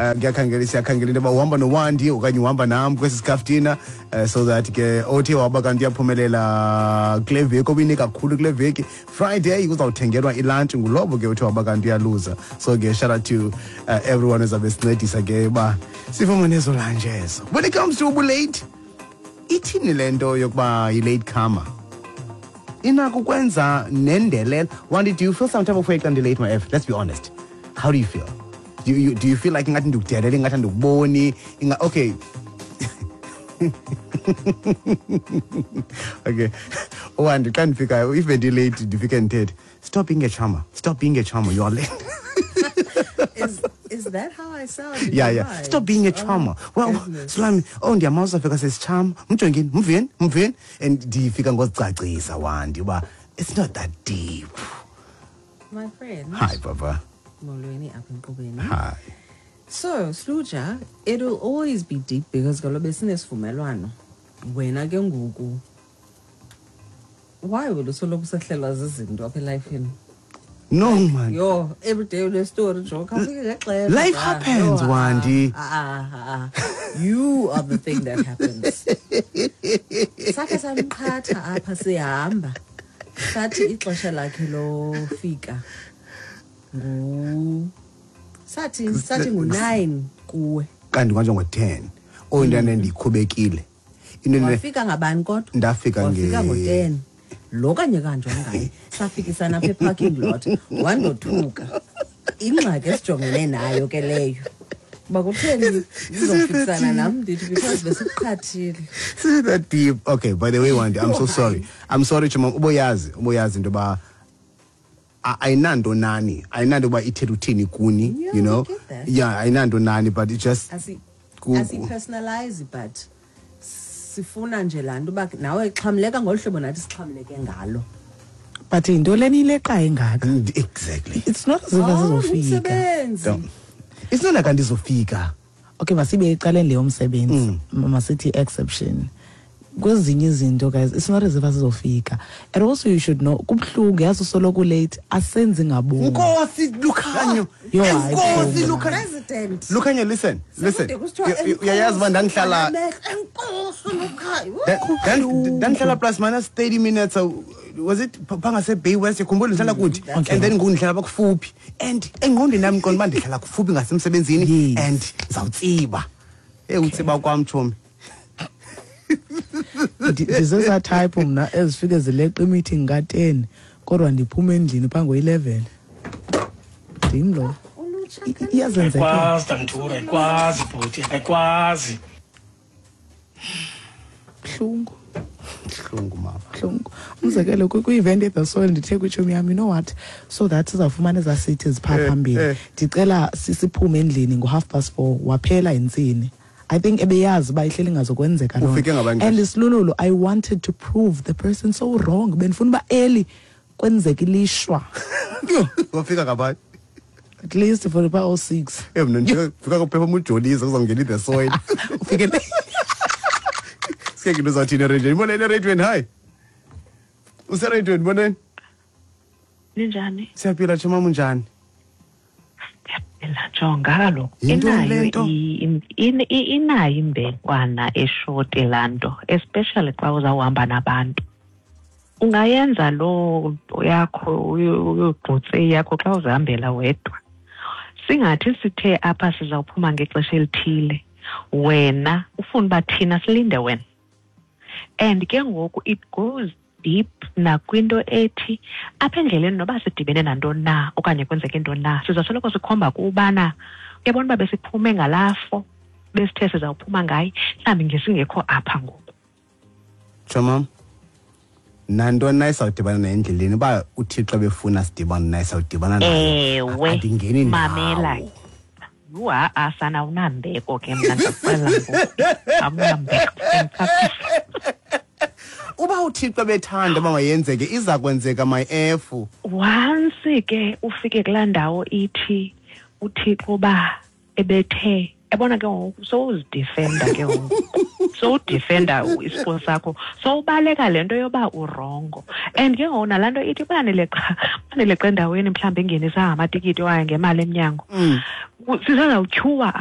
Kuyakhangela, siyakhangela into yoba uhamba nowandi okanye uhamba nam kwesi sikaftina, so that ke othe waba kanti uyaphumelela kule veki, obine kakhulu kule veki, Friday uzawuthengelwa ilantshi ngulobo ke othe waba kanti uyaluza. So ke shout out to everyone ozabe sincedisa ke uba sifumane ezo lunch ezo. When it comes to ubulate, ithini le nto yokuba yi-late comer? Inako ukwenza nendelelo. Wandi, do you feel some type of way xa ndilate, my f? Let's be honest, how do you feel? Do you feel like ingathi ndikudelele, ingathi andikuboni? Okay, Wandi, xa ndifikayo, if bendilate, ndifike ndithethe, "Stop being a charmer, stop being a charmer, you are late." Is that how I sound in Yeah. your Yeah. mind? "Stop being a charmer." Well, Goodness. Sulami, oh, ndiyamazi, afika sesichama, mjongeni, mveni, mveni. And ndifika ngozicacisa, Wandi, uba it's not that deep. My friend. Hi, papa. Molweni apha enkqubeni. Hi. So, Sluja, it'll always be deep because kaloku besinesivumelwano. Wena ke ngoku, why would usoloko usehlelwa zizinto apha elifini? No, man. Yo, every day une story, jo, khawufike ngexesha. Life Ah, happens, yo, ah, Wandi. ah, ah, ah. You are the thing that happens. Sakhe samqhatha apha sihamba. Sathi ixesha lakhe lofika ngu sathi ngu-9 kuwe. Kanti kwanje ngo-10. Oh, into endikhubekile. Into Wafika ngabani kodwa? Ndafika Wafika ngo-10. Lo kanye kanjani ngaye? Safikisana apha e-parking lot. Wandothuka. Ingxaki esijongene nayo ke leyo. Uba kutheni uzofikisana nam, ndithi because besikuqhathile. Is that deep? Okay, by the way, Wandi, I'm so sorry. I'm sorry, Chuma. Uboyazi, uboyazi into ba ayinanto nani. Ayinanto uba ithetha uthini kuni, Yeah, you know? we get that. Yeah, ayinanto nani, but it just Asi-personalize, but sifuna nje laa nto uba nawe xhamleka ngolu hlobo nathi sixhamleke ngalo. But yinto lena ileqa ingaka? Exactly. It's not as if Oh, asizofika. ngumsebenzi. Don't. It's not like andizofika. Okay, masibe ecaleni leyo msebenzi, masithi exception kwezinye izinto, guys. It's not as if asizofika, and also you should know kubuhlungu, yazi, usoloko late, asenzi ngabomi. Nkosi Lukhanyo. Yo, hayi, Nkosi bo. Lukhanyo. President. Lukhanyo, listen, listen. Sekude kusithiwa Uyayazi uba ndandihlala enkosi Lukhanyo. Ndandihlala plus minus 30 minutes, was it phangase Bay West, yakhumbula ndihlala kuthi? And then ngoku ndihlala bakufuphi, and engqondweni yam ndiqonda uba ndihlala kufuphi ngasemsebenzini and ndizawutsiba. Hey, utsiba kwam, tshomi. Ndizezaa type mna ezifike zileqa imeeting ka-10, kodwa ndiphuma endlini phaa ngo-11. Ndim lo. Ulutsha. Iyazenzekela. Ayikwazi, Damthura, ayikwazi bhuti, ayikwazi. Buhlungu. Buhlungu, mama. Buhlungu. Umzekelo, kwi-event eThe Soil, ndithe kwitshomi yam, "You know what, so that sizawufumana ezaa seats ziphaa phambili, ndicela siphume endlini ngo-4:30." Waphela yintsini. I think ebeyazi uba ihleli ingazokwenzeka loo nto. Ufike ngabani And xesha? isilululo, I wanted to prove the person so wrong. Bendifuna uba early, kwenzeka ilishwa. Wafika ngabani? At least for uba o-6. Mna ndifika kuphepha ujolisa kuzawungena iThe Soil. Ufike Sike into uzawuthini ereyidweni. Molweni ereyidweni, hayi. Usereyidweni, molweni. Ninjani? Siyaphila, tshomam, unjani? Ndiyaphila, jonga kaloku. Yintoni le Inayo nto? Inayo imbekwana eshoti laa nto, especially xa uzawuhamba nabantu. Ungayenza loo nto yakho uyogqutse yakho xa uzihambela wedwa. Singathi sithe apha sizawuphuma ngexesha elithile, wena ufuna uba thina silinde wena. And ke ngoku it goes deep nakwinto ethi apha endleleni noba sidibene nantoni na okanye kwenzeke ntoni na, sizasoloko sikhomba kubana uyabona uba besiphume ngalaa 4 besithe sizawuphuma ngaye, mhlawumbi ngesingekho apha ngoku. Tshomam, nantoni na isawudibana nayo endleleni, uba uThixo befuna sidibane naye, sawudibana nayo. Ewe. Andingeni Mamela. ndawo. Yhu, ha-a sana, awunambeko ke mna, ndiyakuxelela ngoku, awunambeko. Uba uThixo bethanda uba mayenzeke, iza kwenzeka, my f. Once ke ufike kulaa ndawo ithi uThixo uba ebethe, yabona ke ngoku sowuzidefenda ke ngoku, sowudefenda isipho sakho, sowubaleka le nto yoba urongo. And ke ngoku nalaa nto ithi baneleqa endaweni mhlawumbi engenisa amatikiti okanye ngemali emnyango, sisazawutyhuwa.